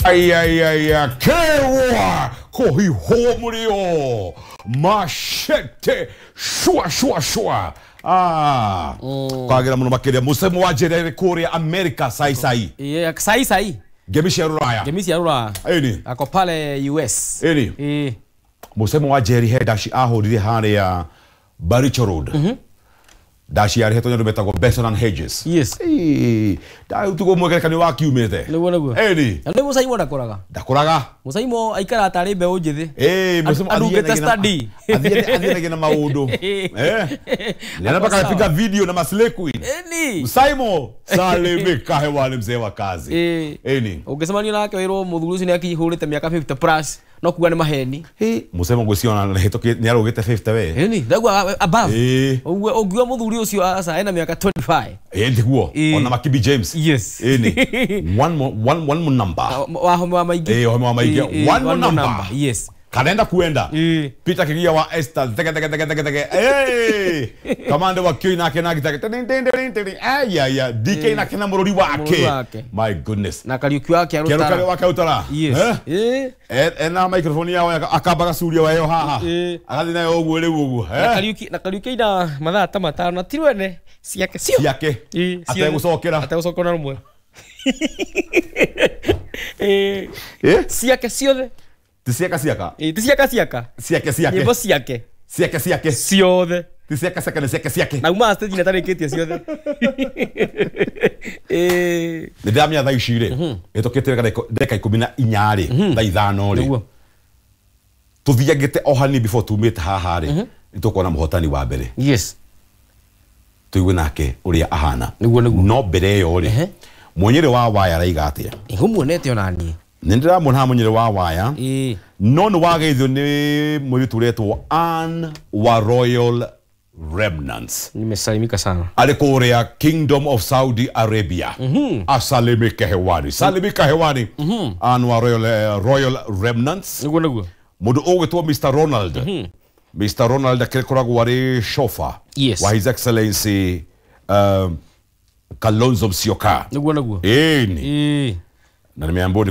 Ai ai ai ai, kewa kohihomurio machete shua shua shua. Ah, kwagira muno makiria musemo wa njira kuria America sai sai. Yeah, sai sai. Ngemi cia ruraya. Ngemi cia ruraya. Eni. Ako pale US. Eni. Eh. Musemo wa Jerry he dashi ahurire haria Baricho Road. Dashi yarĩhetwo nĩ andũ metagwo Benson and Hedges. Yes. Tugo mwegerekano wa kiumĩte. Nĩguo nĩguo. Ĩni. Na nĩ Mũcaimo ndakũraga. Ndakũraga. Mũcaimo aikara tarĩ mbeũ njĩthĩ. Ĩĩ, Mũcaimo arugĩte study. Athianagia na maũndũ. Eh. Nĩ mpaka anapiga video na Maslay Queen. Ĩni. Mũcaimo salimika hewani mzee wa kazi. Ĩni. Ũngĩcemania nake wĩrwo mũthuri ũcio nĩ akihũrĩte mĩaka 50 plus no kuga nĩ maheni. Mũcaimo ngwĩciria ona nĩ arũgĩte 50 we. Ĩni, ndauga above. Ĩĩ. Ũguo ũngiuga mũthuri ũcio aca ena miaka 25. Eh, ndiguo. Ona Makibi James. Yes. Ĩni. One more one more number. Wahome wa maingĩ. Eh, wahome wa maingĩ. One more number. Yes. Kanenda kuenda. Peter Kigia wa Esther. Teke teke teke teke teke. Hey! Kamande wa Kioi nake na gitake. Ting ting ting ting. Ay ay ay. DK nake na mũrũri wake. My goodness. Na Kariuki wake arutara. Kariuki wake arutara. Yes. Eh? Ena microphone yao akambaga curia wayo haha. Agathi nayo ũguo rĩu ũguo. Na Kariuki na Kariuki ina mathaa ta matano na ti rwene ciake cio. Ciake. Ategũcokera. Ategũcokera na rũmwe. Eh. Ciake ciothe. Ti ciaka ciaka. Ti ciaka ciaka. Ciake ciake. Nyĩmbo ciake. Ciake ciake. Ciothe. Ti ciaka ciaka nĩ ciake ciake. Na uma stage na tarĩkĩtie ciothe. Nĩ ndĩramenya thaa ici rĩ, ĩtũkĩte wega ndagĩka 14 rĩ, thaa 5 rĩ. Tũthiangĩte o hanini before tumĩte haha rĩ, nĩ tũkuona mũhotani wa mbere. Yes. Tũigue nake ũrĩa ahana. Nĩguo nĩguo. No mbere ĩyo rĩ, mũnyĩrĩ wa waya araiga atĩa? Ngũmuonete ona niĩ. Nĩ ndĩramuona haha mũnyĩrĩ wa waya. No nĩ wageithio nĩ mũirĩtu ũretwo Ann wa Royal Remnants. Nimesalimika sana. Arĩ kũrĩa Kingdom of Saudi Arabia. Asalimike hewani. Salimika hewani. Ann wa Royal Remnants. Nĩguo nĩguo. Mũndũ ũgwĩtwo Mr. Ronald. Mr. Ronald akĩkoragwo arĩ chauffeur. Yes. Wa His Excellency Kalonzo Musyoka. Nĩguo nĩguo. Ĩni. Na nimeambiwa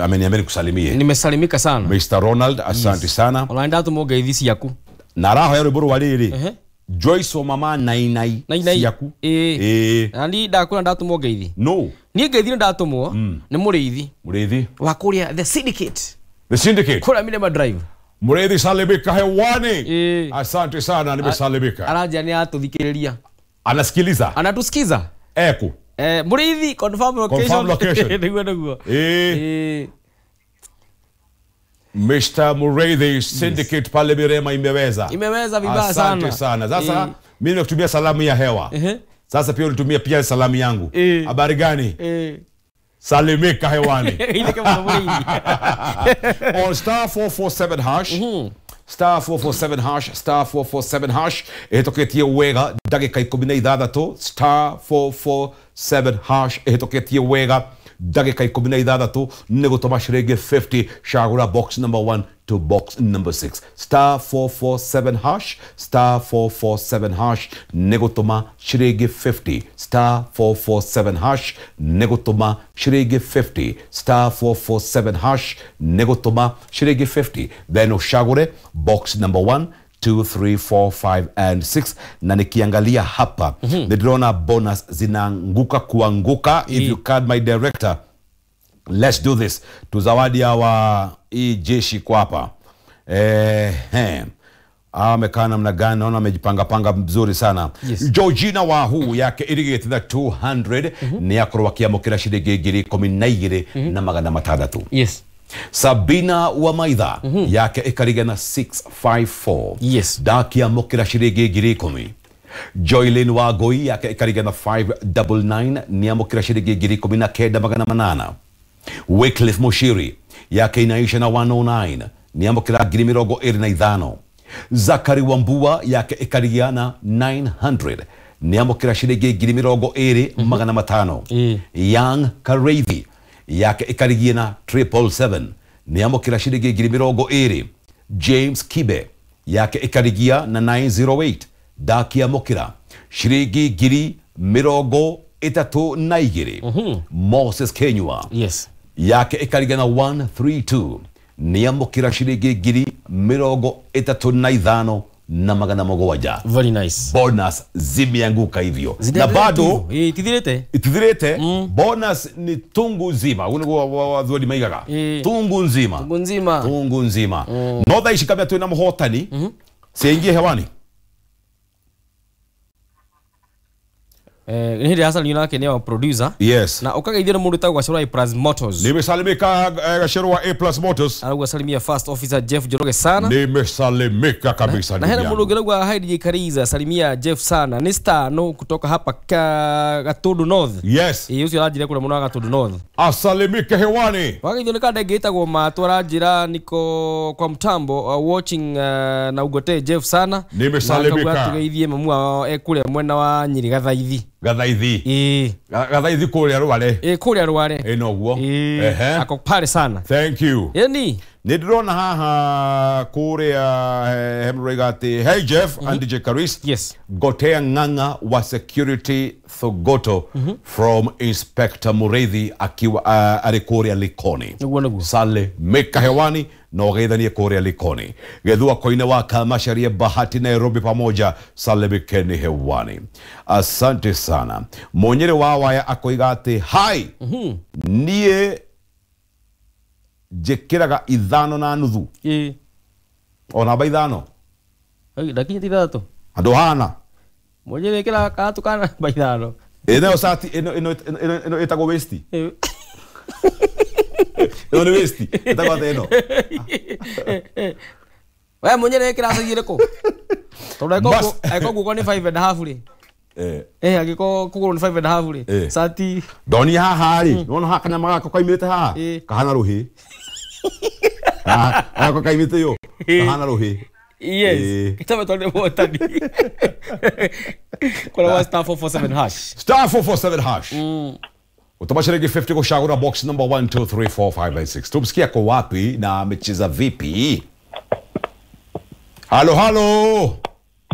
ameniambia nikusalimie. Nimesalimika sana. Mr. Ronald, asante sana. Ona ndatũmwo ngeithi ciaku. Na arahoya rwĩmbo rwa rĩrĩ. Joyce wa mama Nainai ciaku. Ĩĩ. Na niĩ ndakwĩra ndatũmwo ngeithi. No. Niĩ ngeithi nĩ ndatũmwo nĩ mũrĩithi. Mũrĩithi. Wa kũrĩa The Syndicate. The Syndicate. Kũrĩa Mirema Drive. Mũrĩithi salimika hewani. Asante sana, nimesalimika. Aranjia nĩ atũthikĩrĩria. Anasikiliza. Anatusikiza. Eku. Mũrĩithi, confirm location. Confirm location. Nĩguo nĩguo. Mr. Mureithi Syndicate pale Mirema imeweza. Imeweza vibaya sana. Asante sana. Sasa mimi nakutumia salamu ya hewa. Sasa pia ulitumia pia salamu yangu. Habari gani? Salimika hewani. Ile kama Mureithi. On star 447 hash. Star 447 hash, star 447 hash. Ĩhĩtũkĩtie wega ndagĩka 16, star 447 hash ĩhĩtũkĩtie wega ndagĩka 16 nĩ gũtũma ciringi 50 cagũra box number 1 to box number 6. Star 447 hash, star 447 hash nĩ gũtũma ciringi 50, star 447 hash nĩ gũtũma ciringi 50, star 447 hash nĩ gũtũma ciringi 50. Then ũcagũre box number 1 2 3 4 5 and 6. Na nikiangalia hapa niliona bonus zinaanguka kuanguka. If you can, my director, let's do this. Tuzawadi hawa hii jeshi kwa hapa. Amekaa namna gani? Naona amejipanga panga mzuri sana. Yes. Georgina Wahu yake irigĩte na 200 nĩ akorwo akĩamũkĩra ciringi 12,600 na magana matandatũ. Yes. Sabina wa Maitha yake ikariga na 654. Yes. Ndakiamũkĩra ciringi 10,000. Joylin wa Goi yake ikariga na 599 nĩamũkĩra ciringi 19,800. Wycliffe Mushiri yake inaisha na 109 nĩamũkĩra 25,000. Zakari Wambua yake ikarigia na 900 nĩamũkĩra ciringi 20,500. Young Kareithi yake ikarigia na 777 nĩamũkĩra ciringi 20,000. James Kibe yake ikarigia na 908 ndakiamũkĩra ciringi 23,000. 32 Moses Kenywa. Yes. Yake ĩkarigana 132 nĩamũkĩra ciringi ngiri 35 na magana mũgwanja. Very nice. Bonus zimeanguka hivyo na bado itithirite itithirite. Bonus ni tungu nzima ugu niguo wathuri maigaga tungu nzima, tungu nzima, tungu nzima. No thaa ici kabla twina muhotani siingie hewani. Ni hĩndĩ Hassan yunake nĩ wa producer. Yes. Na ũkageithio nĩ mũndũ wĩtagwo Gacero wa A Plus Motors. Nimesalimika Gacero wa A Plus Motors. Arauga salimia first officer Jeff Njoroge sana. Nimesalimika kabisa. Na hena mũndũ ũngĩ arauga hi DJ Kariza, salimia Jeff sana. Ni star no kutoka hapa Gatundu North. Yes. Ĩĩ ũcio aranjĩra kũrĩa mũno wa Gatundu North. Asalimike hewani. Wakageithio nĩ kanda ĩngĩ ĩtagwo Matũ aranjĩra niko kwa mtambo watching na ugote Jeff sana. Nimesalimika. Na tugeithie mamu wao ekũrĩa mwena wa Nyĩrĩ Gathaithi. Gathaithi. Gathaithi kũrĩa Rware. Kũrĩa Rware. Noguo. Ehe. Ako pale sana. Thank you. Ĩni. Nĩ ndĩrona haha kũrĩa hemroiga atĩ hey Jeff and DJ Karis. Yes. Gotea Ng'ang'a wa Security Thogoto from Inspector Mureithi akiwa arĩ kũrĩa Likoni. Nĩguo nĩguo. Sale meka hewani na ũgeithanie kũrĩa Likoni. Gethua Koine wa Kamasharia Bahati Nairobi pamoja salimikeni hewani. Asante sana. Monyere wa waya akoiga atĩ hi. Niĩ njĩkĩraga 5.5. O namba 5. Ndakinyĩte 6. Andũ hana. Monyere ĩkĩraga gatũ kana namba 5. Ĩno cati ĩno ĩno ĩtagwo waist. Ĩno nĩ waist. Ĩtagwo atĩa ĩno? We Monyere ĩkĩraga size ĩrĩkũ? Tondũ angĩkorwo guoko nĩ 5.5 rĩ. Angĩkorwo kũgũrũ nĩ 5.5 rĩ. Cati. Ndonire haha rĩ. Nĩwona haha kanyama gaka kaimĩte haha? Kahana rũhĩ. Gaka kaimĩte yo. Kahana rũhĩ. Yes. Kitabu tondũ mũhotani. Kora wa star 447 hash. Star 447 hash. Utama shilingi 50 kushagura box number 1 2 3 4 5 6. Tumsikia kwa wapi na amecheza vipi? Halo halo.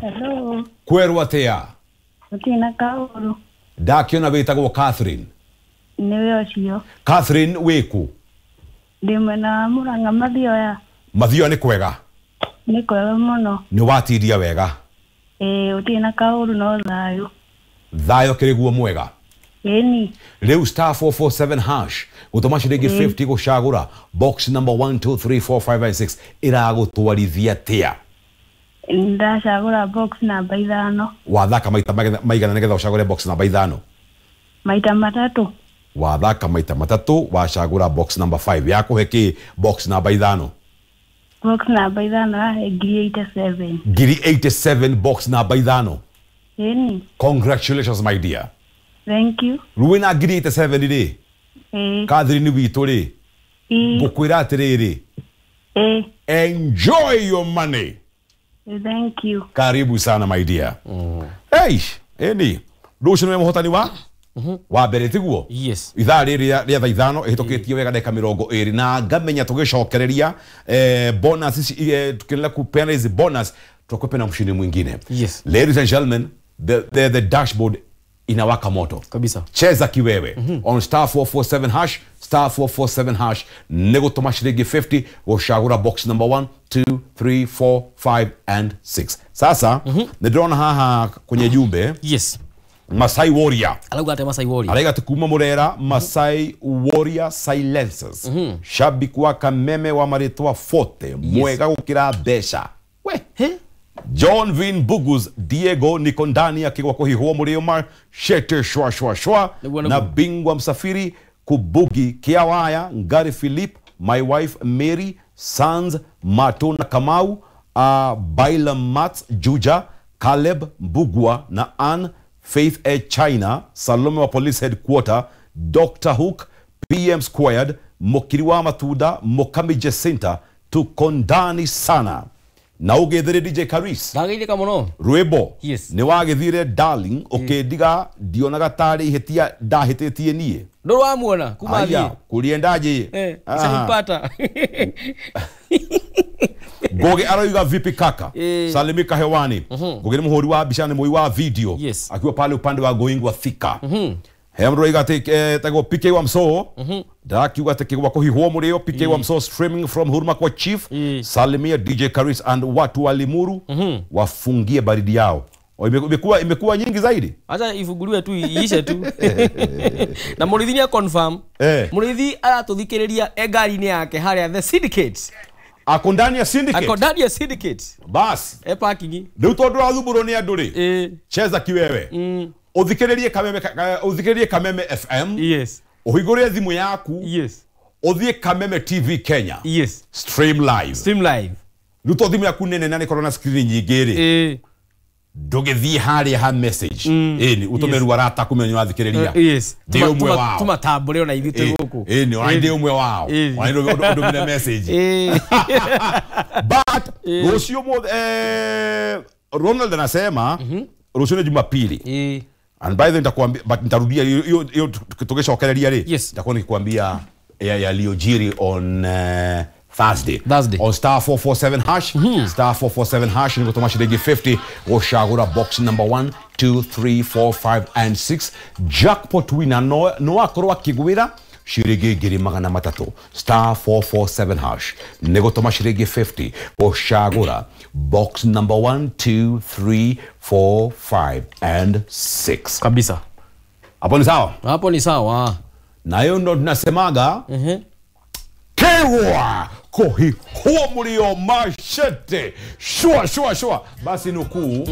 Hello. Kwerwo atia? Tina kauru. Ndakiona wĩtagwo Catherine. Nĩwe ũcio. Catherine wĩkũ? Ndĩ mwena wa Murang'a Mathioya. Mathioya nĩ kwega? Nĩ kwega mũno. Nĩ watindia wega? Ĩĩ, ũtirĩ na kaũru no thayũ. Thayũ kĩrĩ guo mwega? Ĩni. Rĩu star 447 hash gũtũma ciringi 50 gũcagũra box number 1 2 3 4 5 6 ĩragũtwarithia atĩa? Ndacagũra box namba 5. Wathaka maita maigana nĩgetha ũcagũre box namba 5? Maita 3. Wathaka maita 3 wacagũra box number 5. Yakũhe kĩ box namba 5? Box namba 5 yahe ngiri 87. Ngiri 87 box namba 5. Ĩni. Congratulations my dear. Thank you. Rĩu wĩna ngiri 87 rĩ? Catherine witũ rĩ? Ngũkwĩra atĩrĩrĩ. Enjoy your money. Thank you. Karibu sana my dear. Hey, eni. Rũciũ nĩwe mũhotani wa wa mbere tiguo? Yes. Ithaa rĩrĩ rĩa thaa 5 ĩhĩtũkĩtie wega ndagĩka 20 na ngamenya tũgĩcokereria bonus ici tukiendelea kupeana hizi bonus tutakuwa na mshindi mwingine. Yes. Ladies and gentlemen, the dashboard inawaka moto. Kabisa. Cheza kiwewe. On star 447 hash, star 447 hash, nĩgũtũma shilingi 50 gũcagũra box number 1 2 3 4 5 and 6. Sasa nĩndĩrona haha kwenye jumbe. Yes. Masai Warrior. Arauga atĩa Masai Warrior? Arauga atĩ kuma Murera Masai Warrior Silencers. Shabiki wa Kameme wa marĩtwa 40 mwega gũkĩra mbeca. We. John Vin Bugus Diego Nikondani akigwa kuhihwo mũrĩo shete shwa shwa shwa na bingwa msafiri Kubugi Kiawaya Ngari Philip my wife Mary Sans Matona Kamau Baila Mats Juja Caleb Mbugua na Ann Faith A China Salome wa Police Headquarter Dr. Hook PM Squared Mokiri wa Matunda Mokami Jacinta tukondani sana. Na ũgĩthire DJ Karis. Ndagĩithĩka mũno. Rwĩmbo. Yes. Nĩ wagĩthire darling ũkĩndiga ndionaga tarĩ ihĩtia ndahĩtĩtie niĩ. Ndũrĩ wamuona kuma athiĩ. Aya, kuliendaje? Sikumpata. Ngoge aroiga vipi kaka? Salimika hewani. Ngoge ni muhuri wa mbica ni mũi wa video. Yes. Akiwa pale upande wa Goingwa Thika. He mũndũ ũroiga atĩ etagwo PK wa Mso. Ndakiuga atĩ kĩgwa kũhihwo mũrĩo. PK wa Mso streaming from Huruma kwa Chief. Salimia DJ Karis and watu wa Limuru wafungie baridi yao. Imekuwa nyingi zaidi. Acha ifunguliwe tu iishe tu. Na Mũrĩithi nĩ confirm. Mũrĩithi aratũthikĩrĩria e ngari-inĩ yake harĩa the syndicate. Ako ndani ya syndicate. Ako ndani ya syndicate. Bas. E parking. Rĩu tondũ ũrathumbũrwo nĩ andũ rĩ. Cheza kiwewe. Ũthikĩrĩrie Kameme, ũthikĩrĩrie Kameme FM. Yes. Ũhingũre thimũ yaku. Yes. Ũthiĩ Kameme TV Kenya. Yes. Stream live. Stream live. Rĩu to thimũ yaku nene na nĩ ĩkorwo na screen nyingĩ rĩ. Ndũgĩthiĩ harĩa ha message. Ĩni ũtũme rĩu arata kũmenya nĩũrathikĩrĩria. Yes. Ndĩ ũmwe wao. Tũmatambũre ona ithuĩ twĩ gũkũ. Ĩni ona ndĩ ũmwe wao. Ona ndũmĩre message. But rũciũ Ronald anasema rũciũ nĩ Jumapili. And by the way nitakwambia, but nitarudia hiyo tukicokereria rĩ. Nitakuwa nikikwambia yaliyojiri on Thursday. On star 447 hash, star 447 hash ni gutuma shilingi 50 gũcagũra box number 1 2 3 4 5 and 6. Jackpot winner no akorwo akĩgwĩra shilingi 300. Star 447 hash nĩ gũtũma shilingi 50 gũcagũra box number 1 2 3 4 5 and 6. Kabisa. Hapo ni sawa? Hapo ni sawa. Na hiyo ndo tunasemaga kewa kohi huo mlio mashete shua shua shua. Basi nukuu.